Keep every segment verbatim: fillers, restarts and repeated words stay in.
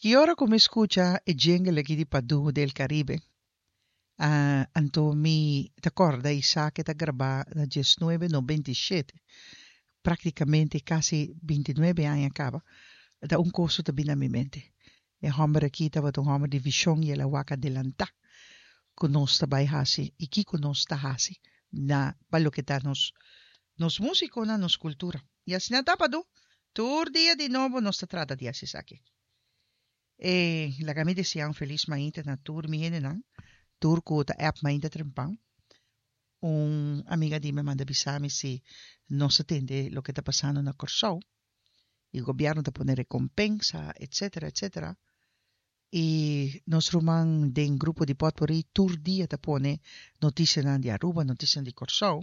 Ki ora ku mi skucha e jingle aki di Padu del Caribe, ah, anto mi ta kòrda i sa ku e ta grabá na diesnuebe nobenta i shete, práktikamente kasi binti nuebe aña kaba, ta un kos ta bini na mi mente. E hòmber aki tabata un hòmber di vishon i el a wak adelantá ku nos ta bai hasi i kiko nos ta hasi na pa loke ta nos nos músikonan, nos kultura. I asina ta, Padu. Tur dia di nobo nos ta trata di hasi esaki. E laga mi deseá un felis mainta na tur mi hendenan, tur ku ta app mainta trempan. Un amiga di mi a manda bisa mi si nos a tende loke ta pasando na Kòrsou i gobièrnu ta pone rekompensa etsetera etsetera. I nos ruman den grupo di Potpourri tur dia ta pone notisianan di Aruba, notisianan di Kòrsou.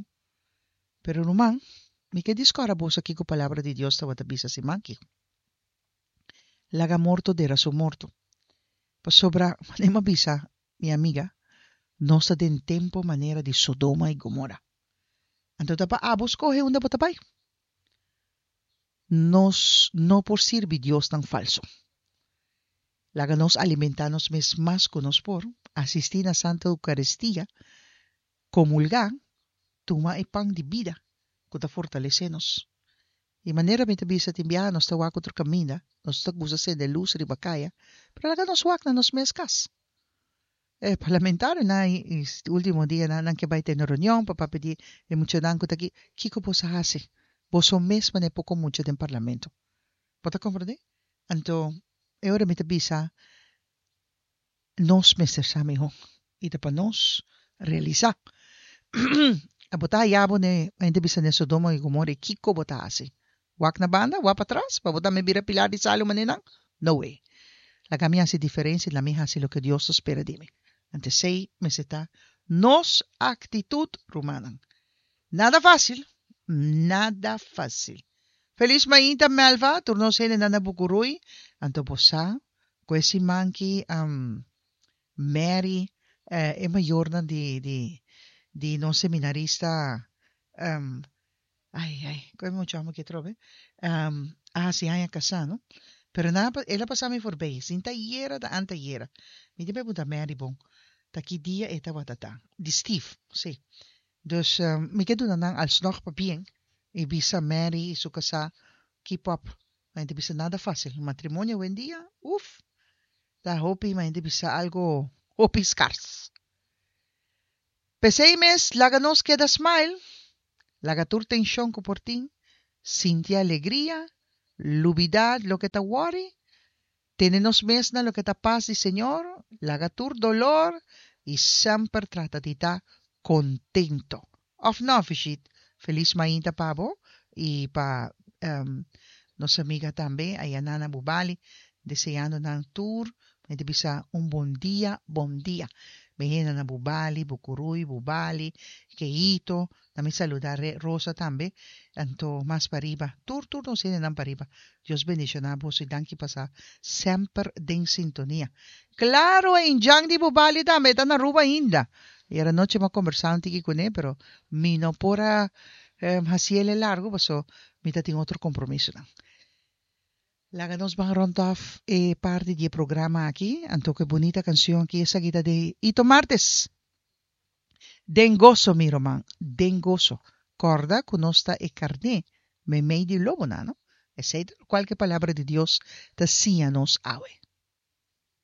Pero ruman, mi ke diskòrda boso kiko Palabra di Dios tabata bisa siman aki. Laga morto dera su morto. Pasobra, manera mi a bisa mi amiga, nos ta den tempu manera di Sodoma i Gomora. Anto ta pa abo skohe unda bo ta bai. Nos no por sirbi diosnan falso. Laga nos alimentá nos mes mas ku nos por, asistí na Santa Eukaristia, komulgá, tuma e pan di bida ku ta fortalesé nos. I manera mi ta bisa tin biaha nos ta wak otro kaminda, nos ta gusta sende lus riba kaya, pero laga nos wak na nos mes kas. E parlamentarionan e ultimo dianan nan ke bai tene reunion pa papia di e muchanan ku ta aki. Kiko boso a hasi? Boso mes manera poko mucha den parlamento. Bo ta komprendé? Anto e ora mi ta bisa nos mester sa mihó i ta pa nos realisá. Abo ta haya bo ne, hende bisa ne Sodoma i Gomora i kiko bo ta hasi? Wak na banda? Wak patras? Pa bo tambe bira pilar di salu manera nan? No way! Laga mi hasi diferensia i laga mi hasi loke Dios ta spera di mi. Anto esei mester ta nos aktitut, rumannan. Nada fásil, nada fásil. Felis mainta Melva, tur nos hendenan na Bucurui. Anto bo sa ku e siman ki Mary, e mayornan di di di nos seminarista, ai ai, ku e mucha homer ki atrobe, a hasi aña kasá no. Pero nan a el a pasa mi forbei, sin ta ayera ta antayera. Mi tin pregunta Mary bon, ta ki dia e tabata ta? Di Steve, si. Dus mi ke duna nan alsnog pabien i bisa Mary i su kasá keep up. Ma hende bisa nada fácil. Matrimonio awendia, uf! Ta hopi ma hende bisa algo hopi skars. P'esei mes laga nos keda smile, laga tur tenshon ku por tin, sinti alegria, lubidá loke ta wòri, tene nos mes na loke ta pas di Señor, laga tur dolor i semper trata di ta kontento. Òf no, Fishit? Felis mainta pa bo i pa nos amiga tambe Ayana na Bubali, deseando nan tur mi ta bisa un bon dia, bon dia. Mi hende na Bubali, Bucurui, Bubali, Keito, na mi saluda Rosa tambe, anto mas pariba, tur tur nos hendenan pariba. Dios bendiciona boso y danki pa sa semper den sintonia. Claro e Injan di Bubali tambe ta na Aruba ainda. Ayer anochi mi a combersa un tiki cune pero mi no por a haciele largo paso mi ta tin otro compromisonan. Laga nos ban rond af e parti di e programa aki, anto cu e bunita cancion aki, esaki ta di Ito Martes. Den goso, mi ruman, den goso. Corda cu nos ta e carné meimei di lobonan, no? Esey ta locual cu e Palabra di Dios ta siña nos awe.